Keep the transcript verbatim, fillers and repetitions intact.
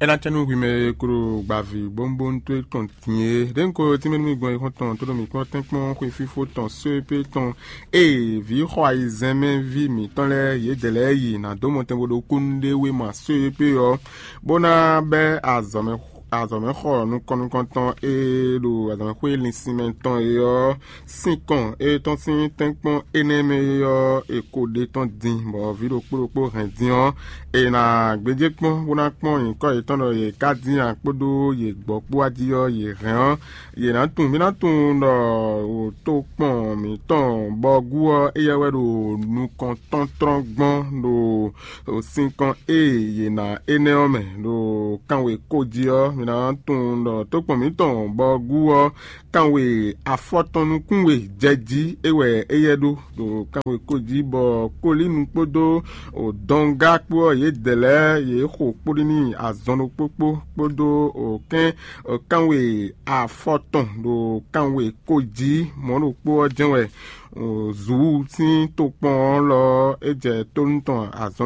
É ná cɛ nú hwi mɛ e klo gbaví bónbónú towe tɔn din é. Ɖěnko tínmɛ nú mì gbɔn e xɔ́ntɔn tó ɖo mǐ kpɔ́n tɛ́nkpɔ́n xwe fífó tɔn só e pé tɔn ée vǐ xɔ ayizɛ́n mɛ ví mǐtɔn lɛ́ɛ yědɛɛ lɛ́ɛ yi nǎ dó mɔtɛn bó ɖo kúnnu ɖé wéma só e pé ɔ́, bó ná bɛ́ azɔ̌mɛ azɔ̌mɛxɔ nukɔn nukɔntɔn e ɖo azɔ̌mɛxwé linsinmɛ tɔn é ɔ́, sinkɔn e tɔn sín tɛ́nkpɔ́n énɛ́ mɛ é ɔ́, è ko ɖe tɔn din, bɔ vǐ ɖokpó ɖokpó hɛn din ɔ́, è nǎ gbéjé kpɔ́n bó ná kpɔ́n nyǐkɔ yětɔn ɖɔ yě ká dín ǎ kpódó yě gbɔ kpó wá jí ɔ́, yě hɛn ɔ́, yě ná tunwun, mǐ ná tunwun ɖɔ tokpɔn mǐtɔn Bɔgú ɔ́, éyɛ́ wɛ ɖo nukɔntɔ́ntlɔ́n gbɔn ɖo sinkɔn e yě ná énɛ́ ɔ́ mɛ ɖo kanwe ko jí ɔ́, mǐ ná tunwun ɖɔ tokpɔn mǐtɔn Bɔgú ɔ́, kanwe afɔtɔn nukún we jɛ jí é wɛ éyɛ́ ɖó ɖo kanwe ko jí, bɔ Kolínu kpódó Dɔngá kpó ɔ́, yědɛɛ lɛ́ɛ yě xo kpóɖí n'i azɔn ɖokpó kpó kpódó kɛ́n kanwe afɔtɔn ɖo kanwe ko jí. Mɔ̌ ɖokpó ɔ́ jɛ́n wɛ Zu sín tokpɔn ɔ́ lɔ ɔ́, é jɛ tónú tɔn azɔn